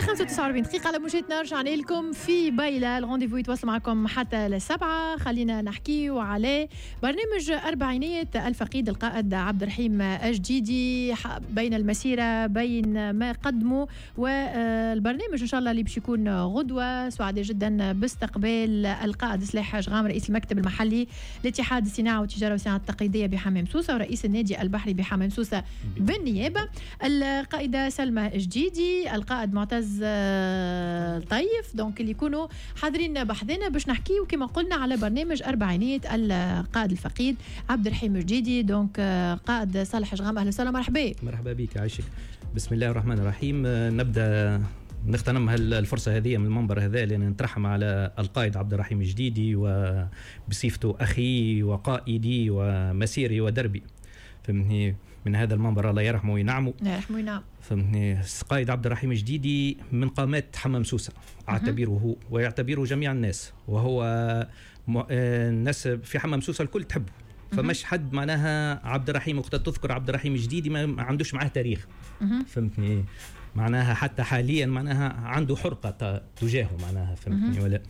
5:49 دقيقة على موجتنا، رجعنا لكم في بايلة ال rendez-vous يتواصل معكم حتى ل7. خلينا نحكيو على برنامج أربعينية الفقيد القائد عبد الرحيم الجديدي، بين المسيرة بين ما قدموا والبرنامج إن شاء الله اللي باش يكون غدوة. سعداء جدا باستقبال القائد سلاح جغام، رئيس المكتب المحلي لاتحاد الصناعة والتجارة والصناعة التقليدية بحمام سوسة ورئيس النادي البحري بحمام سوسة بالنيابة، القائدة سلمى جديدي، القائد معتز طيف، donc اللي يكونوا حاضرين بحذنا باش نحكيو كما قلنا على برنامج أربعينية القائد الفقيد عبد الرحيم الجديدي. donc قائد صالح جغام، أهلا وسهلا، مرحبا. مرحبا بك، عايشك. بسم الله الرحمن الرحيم. نبدا نغتنم الفرصة هذه من المنبر هذا لأن نترحم على القائد عبد الرحيم الجديدي وبصفته أخي وقائدي ومسيري ودربي، فهمتني؟ من هذا المنبر الله يرحمه وينعمه. الله يرحمه وينعمه. فهمتني؟ القائد عبد الرحيم الجديدي من قامات حمام سوسة، أعتبره ويعتبره جميع الناس، وهو الناس في حمام سوسة الكل تحبه، فمش حد معناها عبد الرحيم وقت تذكر عبد الرحيم الجديدي ما عندوش معاه تاريخ، فهمتني؟ معناها حتى حاليا معناها عنده حرقة تجاهه معناها، فهمتني ولا؟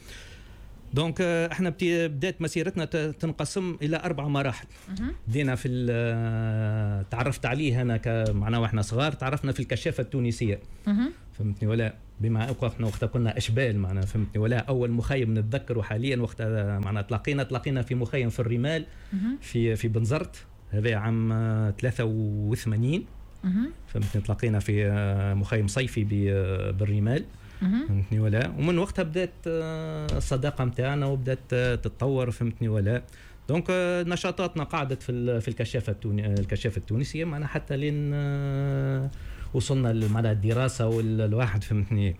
donc احنا بدات مسيرتنا تنقسم الى 4 مراحل. بدينا في تعرفت عليه انا معناها واحنا صغار، تعرفنا في الكشافه التونسية، فهمتني ولا؟ بما احنا وقتها كنا اشبال معناها، فهمتني ولا؟ اول مخيم نتذكره حاليا وقتها معناها تلاقينا في مخيم في الرمال في بنزرت، هذا عام 83، فهمتني؟ تلاقينا في مخيم صيفي بالرمال، فهمتني ولا؟ ومن وقتها بدات الصداقة نتاعنا وبدات تتطور، فهمتني ولا؟ donc نشاطاتنا قعدت في الكشافه التونسية معنا حتى لين وصلنا معناها الدراسة والواحد، فهمتني؟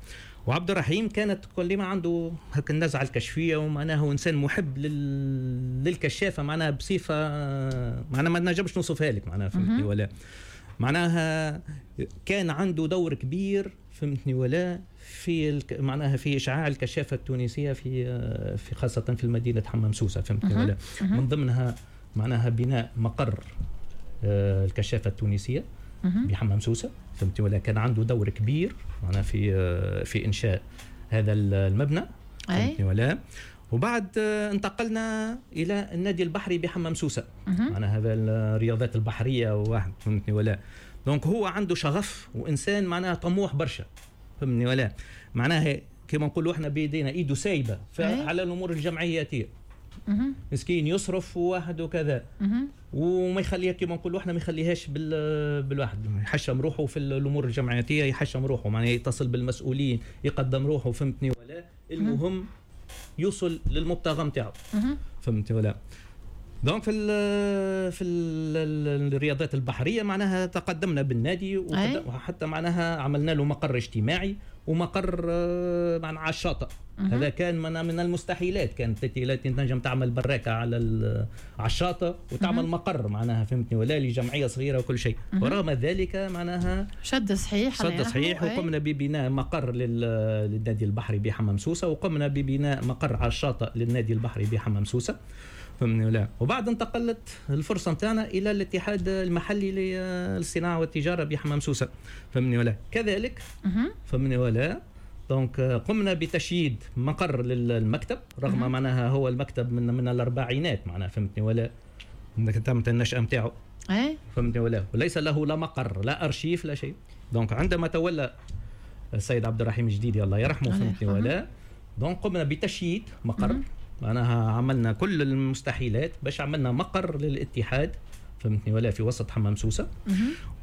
وعبد الرحيم كانت كل ما عنده هكا النزعة الكشفيه، ومعناها هو انسان محب للكشافه معناها بصفة معناها ما نجمش نوصفها لك معناها، فهمتني ولا؟ معناها كان عنده دور كبير، فهمتني ولا؟ في معناها في اشعاع الكشافه التونسية في خاصة في المدينة حمام سوسة، فهمتني ولا؟ من ضمنها معناها بناء مقر الكشافه التونسية بحمام سوسة، فهمتني ولا؟ كان عنده دور كبير معناها في انشاء هذا المبنى، فهمتني ولا؟ وبعد انتقلنا الى النادي البحري بحمام سوسة، معناها هذا الرياضات البحرية وواحد، فهمتني ولا؟ donc هو عنده شغف وانسان معناها طموح برشا، فهمتني ولا؟ معناها كما نقولوا احنا بيدينا ايده سايبه على الامور الجمعياتيه، مسكين يصرف وواحد وكذا، وما يخليها كما نقولوا احنا ما يخليهاش بالواحد، يحشم روحه في الامور الجمعياتيه، يحشم روحه معناها يتصل بالمسؤولين، يقدم روحه، فهمتني ولا؟ المهم يوصل للمبتغى نتاعو، فهمتني ولا؟ donc في الرياضات البحرية معناها تقدمنا بالنادي، وحتى معناها عملنا له مقر اجتماعي ومقر معناها على الشاطئ. هذا كان من المستحيلات، كانت تنجم تعمل براكه على الشاطئ وتعمل مقر معناها، فهمتني ولا؟ لجمعية صغيرة وكل شيء. ورغم ذلك معناها شد صحيح، شد صحيح، وقمنا ببناء مقر للنادي البحري بحمام سوسة، وقمنا ببناء مقر على الشاطئ للنادي البحري بحمام سوسة، فهمتني ولا؟ وبعد انتقلت الفرصة نتاعنا الى الاتحاد المحلي للصناعة والتجارة بحمام سوسة، فهمتني ولا؟ كذلك، فهمتني ولا؟ donc قمنا بتشييد مقر للمكتب، رغم معناها هو المكتب من الاربعينات معناها، فهمتني ولا؟ تمت النشأة نتاعو، فهمتني ولا؟ وليس له لا مقر لا ارشيف لا شيء. donc عندما تولى السيد عبد الرحيم الجديدي الله يرحمه، فهمتني ولا؟ donc قمنا بتشييد مقر، معناها عملنا كل المستحيلات باش عملنا مقر للاتحاد، فهمتني ولا؟ في وسط حمام سوسة.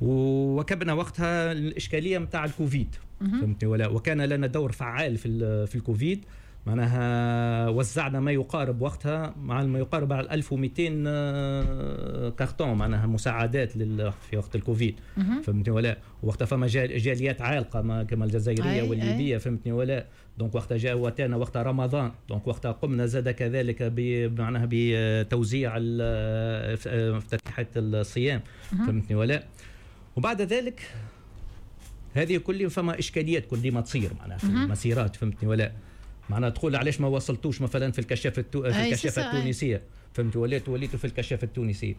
وكبنا وقتها الإشكالية متاع الكوفيد، فهمتني ولا؟ وكان لنا دور فعال في الكوفيد، معناها وزعنا ما يقارب وقتها مع ما يقارب على 1200 كارتون معناها مساعدات في وقت الكوفيد، فهمتني ولا؟ وقتها فما جاليات عالقة كما الجزائرية والليبيه، فهمتني ولا؟ donc وقتها جاء واتانا وقتها رمضان، donc وقتها قمنا زاد كذلك معناها بتوزيع افتتاحات الصيام، فهمتني ولا؟ وبعد ذلك هذه كل فما اشكاليات كل ما تصير معناها في المسيرات، فهمتني ولا؟ معناها تقول علاش ما وصلتوش مثلا في الكشافه في الكشافه التونسية، فهمت، وليتوا في الكشافه التونسية.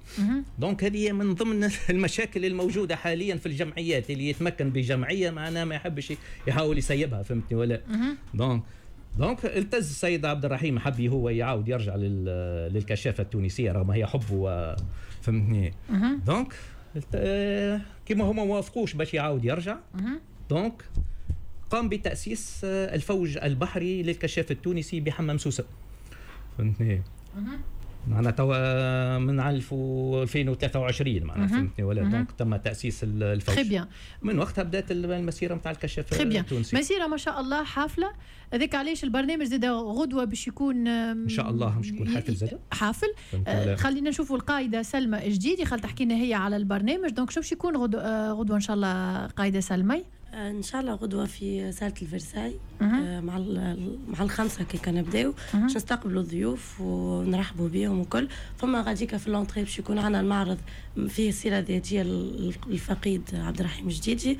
donc هذه من ضمن المشاكل الموجودة حاليا في الجمعيات، اللي يتمكن بجمعية معناها ما يحبش يحاول يسيبها، فهمتني ولا؟ donc التز السيد عبد الرحيم حب هو يعاود يرجع للكشافه التونسية رغم هي حبه، فهمتني. donc كما هما وافقوش باش يعاود يرجع، donc قام بتاسيس الفوج البحري للكشاف التونسي بحمام سوسة، فهمتني. معنا توا من 2023 معناها، فهمتني ولا؟ donc تم تاسيس الفوج. très bien. من وقتها بدات المسيرة نتاع الكشاف التونسي. مسيره ما شاء الله حافلة، هذاك علاش البرنامج زاد غدوه باش يكون ان شاء الله باش يكون حافل زاد حافل. خلينا نشوفوا القايده سلمى جديدي، خل تحكي لنا هي على البرنامج. donc شو باش يكون غدوه ان شاء الله قايدة سلمى؟ ان شاء الله غدوه في ساله الفرساي مع الخمسة كي كنبداو باش نستقبلوا الضيوف ونرحبوا بهم وكل. فما غاديكا في l'entrée باش يكون عندنا المعرض فيه السيرة الذاتية للفقيد عبد الرحيم جديدي.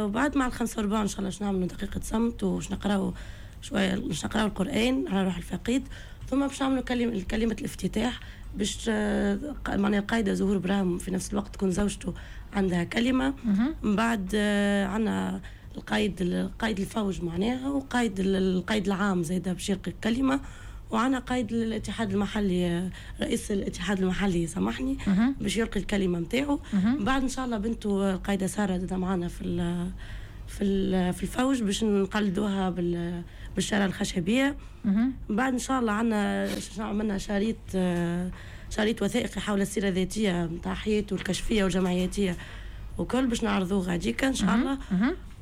وبعد مع 5:15 ان شاء الله باش نعملوا دقيقة صمت وباش نقراو شوية، باش نقراو القران على روح الفقيد، ثم باش نعملوا كلمة الافتتاح باش معناها القايده زهور براهم في نفس الوقت تكون زوجته عندها كلمة. من بعد عندنا القايد الفوج معناها، وقايد القايد العام زايدة باش يلقي كلمة، وعندنا قايد الاتحاد المحلي، رئيس الاتحاد المحلي سامحني، باش يلقي الكلمة نتاعو. بعد ان شاء الله بنته القايده ساره زاده معنا في الفوج باش نقلدوها بالشارة الخشبية. بعد ان شاء الله عندنا عملنا شريط وثائقي حول السيرة الذاتية نتاع حياته الكشفيه والجمعياتيه وكل باش نعرضوه غاديكا ان شاء الله.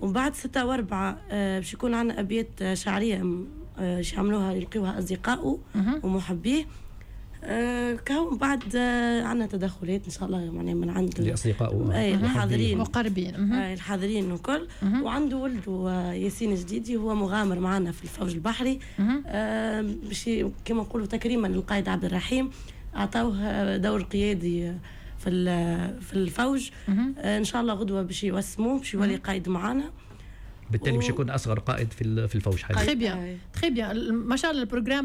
ومن بعد 6:15 باش يكون عندنا ابيات شعرية باش يعملوها يلقيوها اصدقائه ومحبيه. كهو بعد عندنا تدخلات ان شاء الله معناها من عند الاصدقاء الحاضرين المقربين، الحاضرين وكل. وعنده ولده ياسين جديدي هو مغامر معنا في الفوج البحري، باش كما نقولوا تكريما للقائد عبد الرحيم اعطوه دور قيادي في الفوج. ان شاء الله غدوه باش يوسموه باش يولي قائد معنا، بالتالي باش يكون اصغر قائد في الفوج حاليا. très bien très bien، ما شاء الله ال programme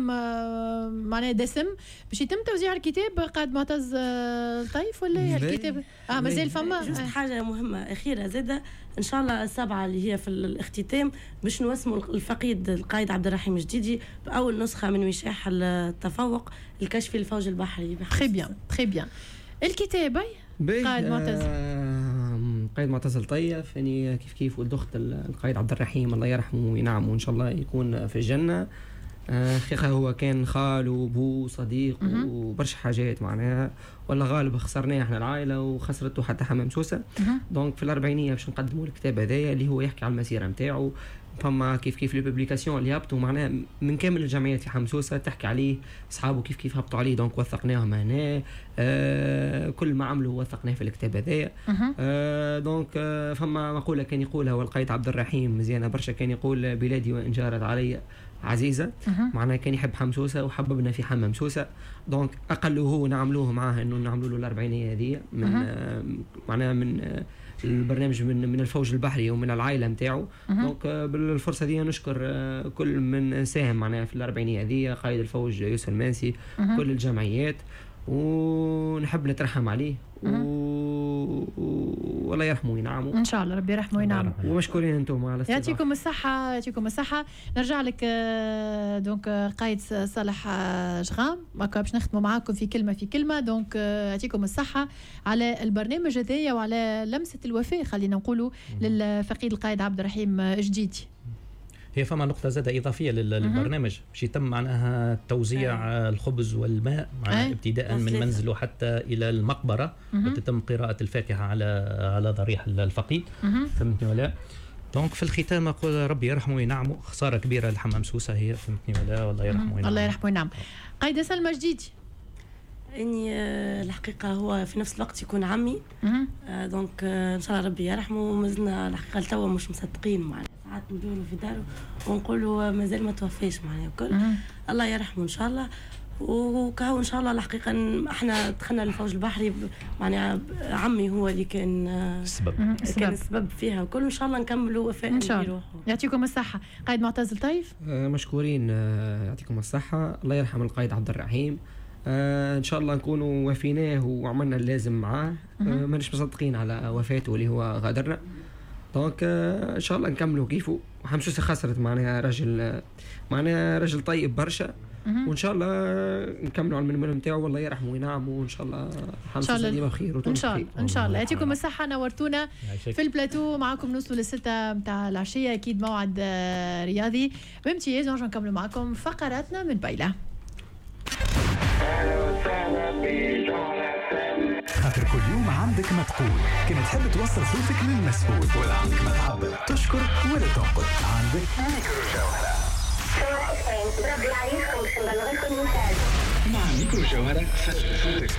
معناه دسم. باش يتم توزيع الكتاب قائد معتز الطيف ولا الكتاب مازال فما juste حاجة مهمة اخيرة زاده ان شاء الله 7 اللي هي في الاختتام باش نوسموا الفقيد القائد عبد الرحيم جديدي باول نسخه من وشاح التفوق الكشفي للفوج البحري. très bien très bien. الكتاب قائد معتز، قائد معتز الطيف، يعني كيف كيف ولد اخت القائد عبد الرحيم الله يرحمه وينعمه وان شاء الله يكون في الجنة. حقيقة هو كان خال وبو صديق وبرشا حاجات معناها، والله غالب خسرناه احنا العائلة وخسرته حتى حمام سوسة. donc في الاربعينيه باش نقدموا الكتاب هذايا اللي هو يحكي على المسيرة نتاعو. فما كيف كيف les publications اللي هبطوا معناها من كامل الجمعيات في حمام سوسة تحكي عليه، اصحابه كيف كيف هبطوا عليه، donc وثقناهم هنا. كل ما عملوا وثقناه في الكتاب هذايا. donc فما مقولة كان يقولها والقايد عبد الرحيم مزيانه برشا، كان يقول بلادي وان جارت علي عزيزه، معناها كان يحب حمام سوسة وحببنا في حمام سوسة. donc اقله هو نعملوه معاه انه نعملوا له الاربعينيه هذه من معناها من البرنامج من الفوج البحري ومن العائلة نتاعو. donc بالفرصه دي نشكر كل من ساهم معناها في الاربعينيه هذه، قائد الفوج يوسف المانسي، كل الجمعيات، ونحب نترحم عليه والله يرحمه وينعمه ان شاء الله، ربي يرحمه وينعمه. ومشكورين انتم على الاستضافة، يعطيكم الصحة يعطيكم الصحة. نرجع لك donc قايد صالح جغام، باش نختموا معاكم في كلمة في كلمة. donc يعطيكم الصحة على البرنامج هذايا وعلى لمسه الوفاء خلينا نقولوا للفقيد القائد عبد الرحيم جديدي. هي فما نقطة زادة إضافية للبرنامج باش يتم معناها توزيع الخبز والماء معناها ابتداء من منزله حتى إلى المقبرة، وتتم قراءة الفاتحة على ضريح الفقيد، فهمتني ولا؟ donc في الختام أقول ربي يرحمه وينعمه، خسارة كبيرة لحمام سوسة هي، فهمتني ولا؟ والله يرحمه وينعمه. الله يرحمه وينعمه. قايدة سلمى جديدي، اني الحقيقة هو في نفس الوقت يكون عمي، donc ان شاء الله ربي يرحمه. ومازلنا الحقيقة لتوا مش مصدقين معنا، ساعات ندوروا في داره ونقولوا مازال ما توفاش معنا الكل. الله يرحمه ان شاء الله. وكهو ان شاء الله. الحقيقة احنا دخلنا للفوج البحري، معناها عمي هو اللي كان السبب، كان السبب فيها وكل، ان شاء الله نكملوا وفاء ان شاء الله. يعطيكم الصحة. قائد معتز لطيف، مشكورين، يعطيكم الصحة. الله يرحم القائد عبد الرحيم، ان شاء الله نكونوا وفيناه وعملنا اللازم معاه. ماناش مصدقين على وفاته اللي هو غادرنا، donc ان شاء الله نكملوا كيفه. حمام سوسة خسرت معناها رجل، معناها رجل طيب برشا، وان شاء الله نكملوا على المنوال نتاعو، والله يرحمه وينعمه، وان شاء الله حمام سوسة ديما بخير. ان شاء الله، ان شاء الله. يعطيكم الصحه، نورتونا في البلاتو. معكم نوصلوا للستة نتاع العشيه، اكيد موعد رياضي بامتياز. نرجع نكملوا معكم فقراتنا من بايله. خاطر كل يوم عندك ما تقول، كان تحب توصل صوتك للمسؤول، ولا عندك ما تعبر، تشكر ولا تنقد، عندك ميكرو جوهرة. مع ميكرو جوهرة صوتك.